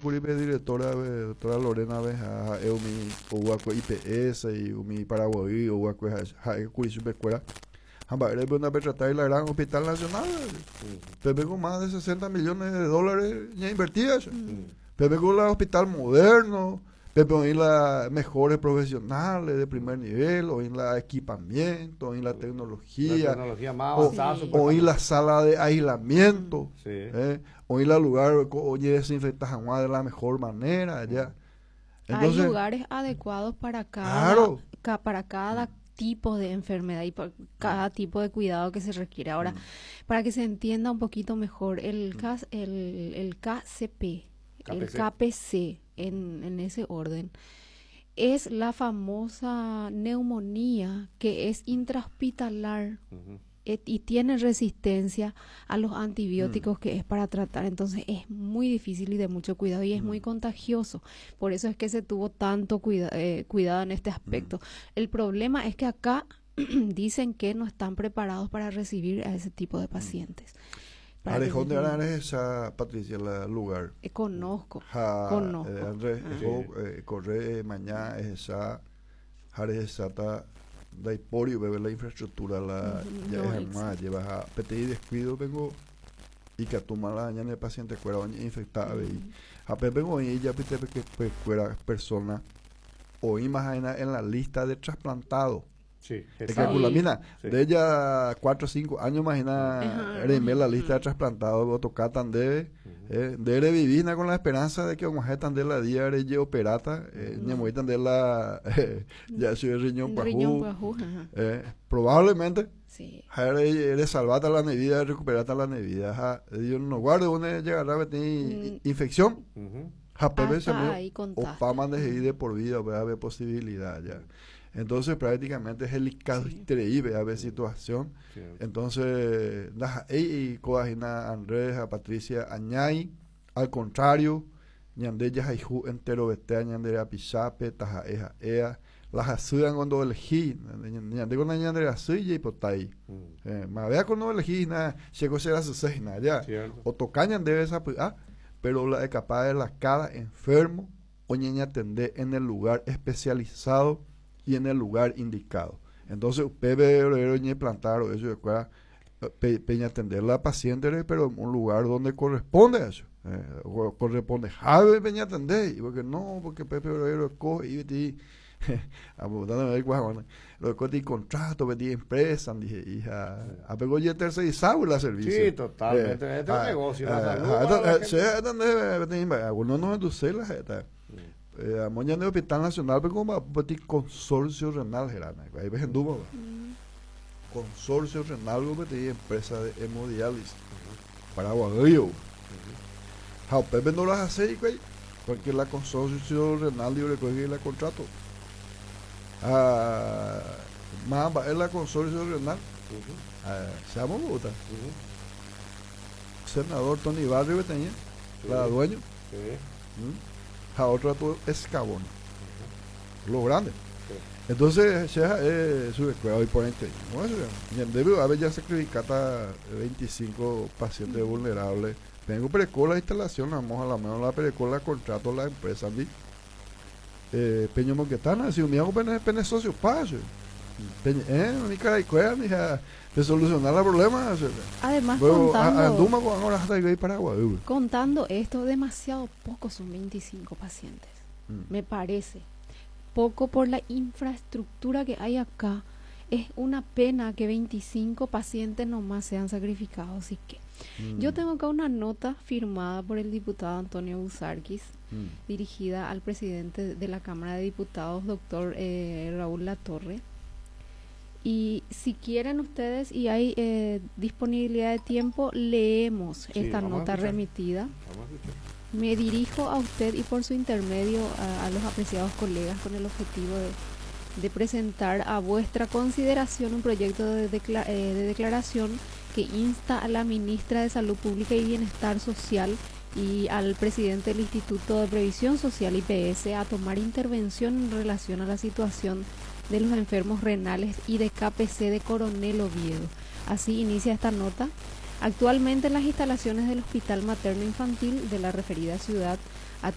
kuri pe directora, doctora Lorena be ha ha'e umi oúakue IPS y umi Paraguaý oúakue ha'e kuri chupekuéra. Ha mba'érepe ndapetratai la gran Hospital Nacional? Pépe ko más de 60 millones de dólares ñainvertía. Pépe ko la hospital moderno, pépe oĩ la mejores profesionales de primer nivel, oĩ la equipamiento, oĩ la tecnología, La tecnología más avanzada, oĩ la sala de aislamiento, oĩ la lugar ojedesinfecta hag̃ua de la mejor manera allá. Entonces, hay lugares adecuados para cada, Claro. para cada tipo de enfermedad y para cada tipo de cuidado que se requiere. Ahora, para que se entienda un poquito mejor, el, el KCP, el KPC. KPC, en ese orden, es la famosa neumonía que es intrahospitalar y tiene resistencia a los antibióticos que es para tratar. Entonces es muy difícil y de mucho cuidado y es muy contagioso. Por eso es que se tuvo tanto cuidado en este aspecto. El problema es que acá dicen que no están preparados para recibir a ese tipo de pacientes. Para que Arejón se de entienda. Arana es esa, Patricia, la lugar. Conozco, Ja, conozco. Andrés, Ah. corre mañana es esa, jare esa ta, daiporio, bebé, la infraestructura, la, ya No, es exacto. más, lleva a PTI descuido, vengo, y que toma la daña en el paciente cuera, oye, infectada, ve, y a Pepe, vengo, y ya pite, que, pues, cuera persona, hoy más en la lista de trasplantado. Sí, Es que exacto. calcula, mira, Sí. de ella 4 o 5 años, imagina, reme la lista de trasplantado, o toca tan de, de revivir con la esperanza de que vamos a tan de la día de operata, ñamoy tan de la, ya soy el riñón El pajú, riñón pajú, ajá. probablemente, Sí. ja, eres salvata la nevida, recuperata la nevida, ja, Dios no guarde, uno llegará a tener infección. Ja, Pepe Hasta se me ahí contaste. Obama de de por vida, va a haber posibilidad ya. Entonces prácticamente es el increíble a ver situación. Entonces, la, ey, y coajina Andrés, a Patricia Añay, al contrario, ñande ya haijú entero vetea, ñande a pichape, taja eja ea, las ayudan cuando elegí, ñande con la ñande así y potay. Ma vea cuando elegí, na, checo será su seis, na, ya. O tocañan debe esa, pues, ah, pero la de capaz de la cada enfermo o ñaña atender en el lugar especializado y en el lugar indicado. Entonces, usted ve, ve, ve, plantar o eso, de acuerdo, peña atender la paciente, pero en un lugar donde corresponde a eso. Corresponde, jave peña atender, y porque no, porque Pepe Obrero coge y y, a botar de ver cuál, bueno, lo coge y contrato, pedí empresa, dije, hija, a pegó ya tercerizado la servicio. Sí, totalmente. Este es un negocio, la salud para la gente. Sí, es donde, te digo, algunos no entonces la gente. A moña de Hospital Nacional, pero como va a pedir consorcio renal, Gerana, ahí ves en Duba, va. Consorcio renal, va a pedir empresa de hemodiálisis. Paraguayo. Ja, Pepe no las hace, güey, porque la consorcio renal libre coge la contrato. Ah, más va es la consorcio renal. Ah, se llama Bogotá. Senador Tony Barrio tenía, la dueño. A otro tu escabón. Lo grande. Entonces, se sube cuidado y por entre. ¿Cómo se llama? Y en debe haber ya sacrificado 25 pacientes vulnerables. Tengo precola la instalación, vamos a la mano la precola, contrato la empresa. ¿Sí? Peño Moquetana, si un día pene, pene socio, paso. Peña mi cara y cueva, mija, de solucionar el problema, o sea, Además, luego, a Duma, con ahora hasta ahí Paraguay, güey. contando esto, demasiado poco son 25 pacientes, me parece. Poco por la infraestructura que hay acá. Es una pena que 25 pacientes nomás sean sacrificados. Así que yo tengo acá una nota firmada por el diputado Antonio Buzarquis, dirigida al presidente de la Cámara de Diputados, doctor Raúl Latorre. Y si quieren ustedes y hay disponibilidad de tiempo, leemos Sí, esta vamos a nota escuchar. remitida. Vamos a escuchar. Me dirijo a usted y por su intermedio a los apreciados colegas con el objetivo de presentar a vuestra consideración un proyecto de declaración que insta a la ministra de Salud Pública y Bienestar Social y al presidente del Instituto de Previsión Social IPS a tomar intervención en relación a la situación de los enfermos renales y de KPC de Coronel Oviedo. Así inicia esta nota. Actualmente en las instalaciones del Hospital Materno Infantil de la referida ciudad